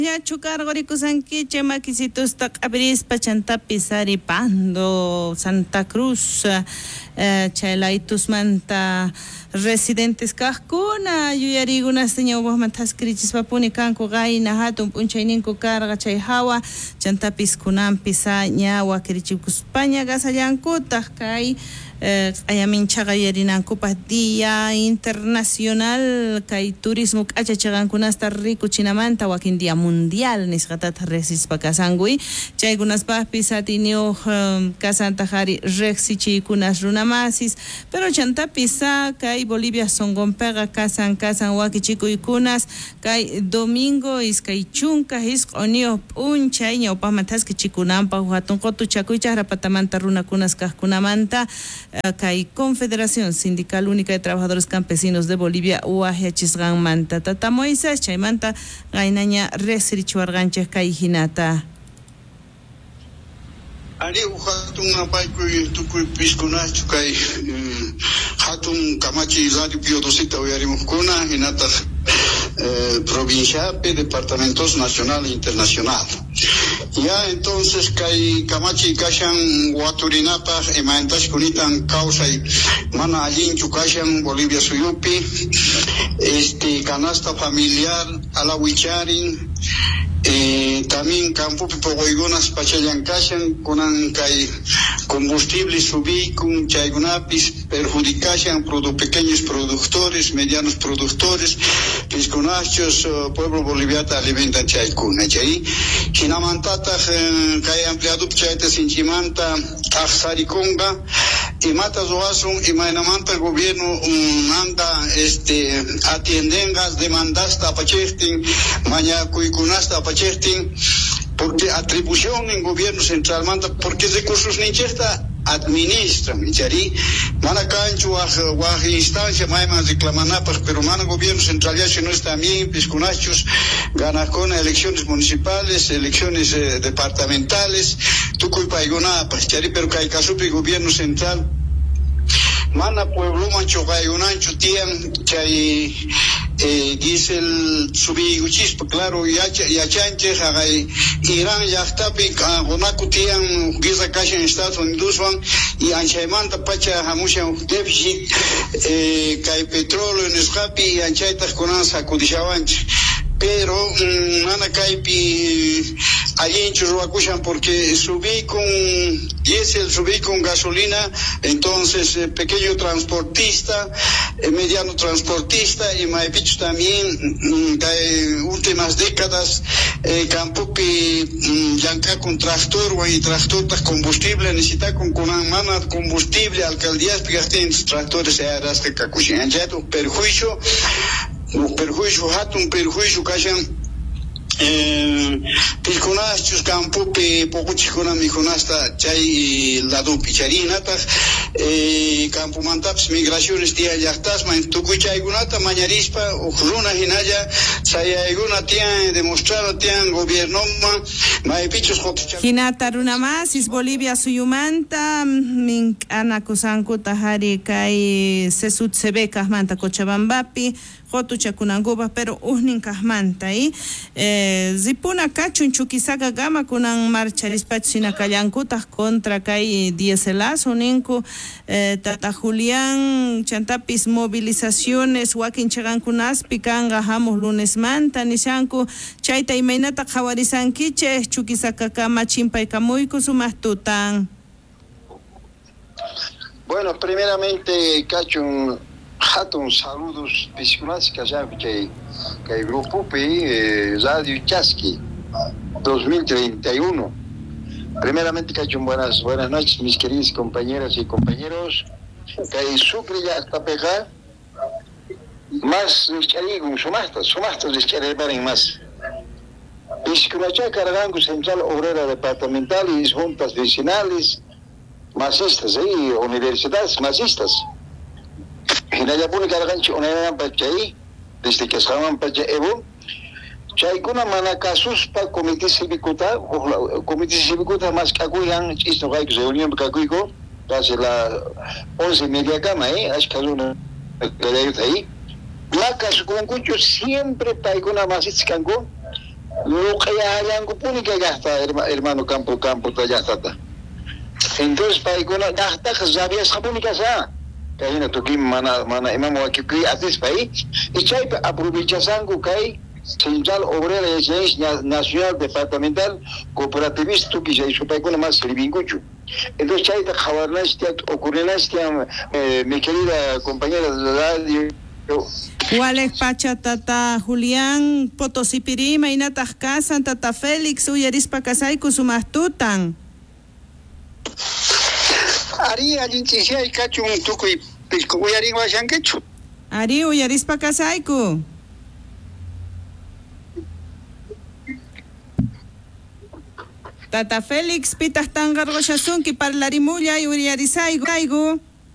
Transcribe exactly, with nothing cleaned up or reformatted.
Llachu karqurikusankichik makisitusta q'apirispa chantapis ari Pando, Santa Cruz, eh, chay laytusmanta residentes kaqkuna yuyariykunasta ñawpaqman thaskirichispapuni kanku qayna hatun p'unchayninku karqa chay hawa chantapis kunanpis ña wakirichikuspaña kasallankutaq kay eh, q'ayaminchaqa yuyarinankupaq Día Internacional kay turismo k'achachiqankunasta rikuchinamanta wakin día mundial nisqatataq riqsispa kasankuy chaykunaspaqpis atiyniyuq um, kasantaq ari riqsichiykunas runamasis pero chantapis kay Bolivia sunqunpiqa kasan kasan wakichikuykunas kay domingo iskay chunka isq'uniyuq p'unchay ñawpaqman thaskichikunanpaq hatun qutuchakuy chaqrapatamanta runakunas kaqkunamanta kay Confederación Sindical Única de Trabajadores Campesinos de Bolivia waqyachisqanmanta tata Moisés chaymanta qaynaña riqsirichiwarqanchik kay hinata. Ari hatun napaykuy tukuy piskunachu kay hatun kamachi Radio Pío Doceta uyarimuqkuna hinataq eh, provinciapi, departamentos nacional e internacional. Ya entonces kay kamachi kashan waturinapaq imaynatash kunitan kawsay mana allinchu kashan Bolivia suyupi, este canasta familiar alawicharin, eh, también campopi poquykunas pachallan kashan kunan kay combustible subikun chaykunapis perjudicashan produ pequeños productores, medianos productores, piskunachos uh, pueblo boliviata alimentan chaykuna chay hinamantataq eh, kay empleadupi chayta sinchimanta t'aqsarikunqa imata ruwasun imaynamanta gobierno manta este atiendenqa demandasta apachiqtin mañakuykunasta apachiqtin porque atribución en gobierno central manta porque recursos ninchikta administran chari mana kanchu waj waj instancia mayman reclamanapaq pero mana gobierno central ya no está bien piskunachos ganakuna elecciones municipales, elecciones eh, departamentales tukuy paykunapaq chari pero kay kasupi gobierno central mana puebloman chuqaykunanchu tiyan chay eh, diesel subiykuchispa claro yacha yachanchik haqay Irán llaqtapi qunaku tiyan guerra kashan Estados Unidoswan y anchaymanta pacha hamushan déficit eh, kay petróleo nisqapi y anchaytaq kunan sacudishawanchik pero mm, mana kaypi allinchu ruwakushan porque subí con diésel, subí con gasolina, entonces eh, pequeño transportista, eh, mediano transportista y maypichu también mm, kay últimas décadas eh, campopi mm, llank'akun tractor y tractortaq combustible necesitakun kunan mana combustible alcaldíaspi kaqtin tractores ayarasqa kakushan anchayta perjuicio perjuicio hatun perjuicio kashan eh, piskunachus campopi poquchikuna mikhunasta chay ladupi charinataq eh, campomantapis migraciones tiyan llaqtasman tukuy chaykunata mañarispa huk runa hinalla sayaykuna tiyan demostrar tiyan gobiernoman maypichus hinata runa masis Bolivia suyumanta mink'anakusankuta hari kay C S U T C B kaqmanta Cochabambapi qutuchakunankupaq pero ujnin kaqmanta y eh, ripuna kachun Chuquisaca kama kunan marcharispachus hina kallankutaq contra kay dieselazo ninku eh, tata Julián chantapis movilizaciones wakin chiqankunaspi kanqa hamuq lunesmanta nishanku chayta imaynata qhawarisankichik Chuquisaca kama chimpaykamuyku sumaq tutan. Bueno, primeramente, kachun hatun saludos piskunas kashanku chay kay grupopi eh, Radio Chasqui dos mil treinta y uno. Primeramente, kachun buenas buenas noches, mis queridas compañeras y compañeros. Kay Sucre llaqtapiqa más rich'ariykun sumaqta, sumaqta rich'ariyparin más. Piskunacha karqanku Central Obrera Departamental y juntas vecinales masistas, eh, universidades masistas. Hinallapuni karqanchik unaymanpas chay desde que pacha Evo chaykuna mana kasuspa comité cívicota comité cívicota mask'akuyan ch'isnuqayku reunión kakuyku casi la once y media kama, eh ashka runa kallayuta ahí ma kasukunkuchu siempre paykuna masistas kanku. Luq'ayallankupuni kay llaqta hermano campo campo llaqtata. Entonces paykuna llaqtaqa rabiasqapuni kasha. Kay hina tukuy mana mana imam wakikuy atispa y chaypi aprovechashanku kay Central Obrera Nacional Departamental Cooperativista tukuy chay supaykuna más sirvinkuchu. Entonces chayta qhawarnachis ocurrinachis eh, mi querida compañera de radio. Walej pacha tata Julián Potosipiri imaynataj kasan tata Félix uyarispa kasayku sumaq tutan. Ari allin ch'isiyay kachun tukuy pisqu uyarinwashankichu. Ari uyarispa kasayku. Tata Félix pitaq tanqarqushasunki parlarimullay uyarisayku.